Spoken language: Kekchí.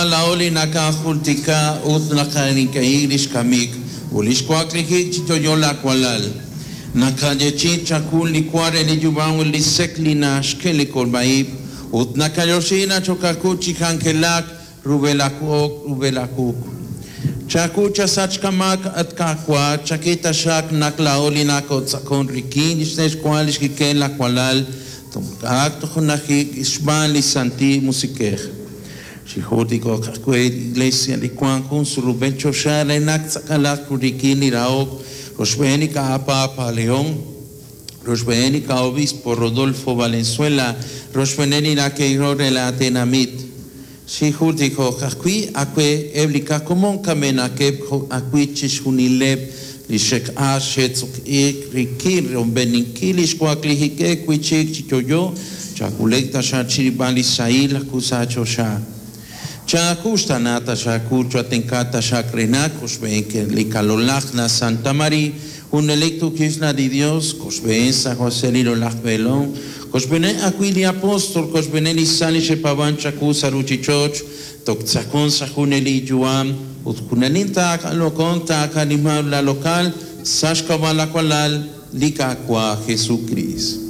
Qaawa' laa'o li nakajultika ut naqaninq'ehi lix kamik ut lix waklijik chi yo'yo laawalal. Nakayeechi'i chakul li wa re li yu'am ut li sek' li naxk'e li kolb'a-ib' ut nakayoxi nachokakut chi k'anjelak rub'el aawuq rub'el aawuq. Chaku chasach kamak at Qaawa', chak'e taxaq naq laa'o li nakotz'aqon rik'in lix nexwa lix kik'el laawalal, toq'aak tojunajik xb'aan li Santil Musiq'ej. Xijultiko'q ajwi' li Iglesia li wank jun surub'el choxa re naq tz'aqalaq rik'in li rahok rochb'een li Papa León, rochb'een li Obispo Rodolfo Valenzuela, rochb'een li nake'ro re la tenamit. Xijultiko'q ajwi' ajwi' eb' li qakomon kamenaqeb' jo' ajwi' chixjunileb' li xe'q'ax xe'tz'uq'iik rik'in romb'eninkil li xwaklijikeb' wi' chik chi yo'yo, chak'ulek taxaq chirib'al li sahil akusa choxa. Chakuxtana taxaq chatenka taxaq renak koxb'een li kalolaj na Santa María, junelik tukisna di Dios, koxb'een San José li rolaj Belón, koxb'een ajwi' li apóstol, koxb'een li san li xe'paab'an chaku sa' ruchich'och', toktzakon sa' juneli yu'am, ut junelik taaqalokon taaqanimaw la local, sa' xk'ab'a' lawalal, li Qaawa' Jesucristo.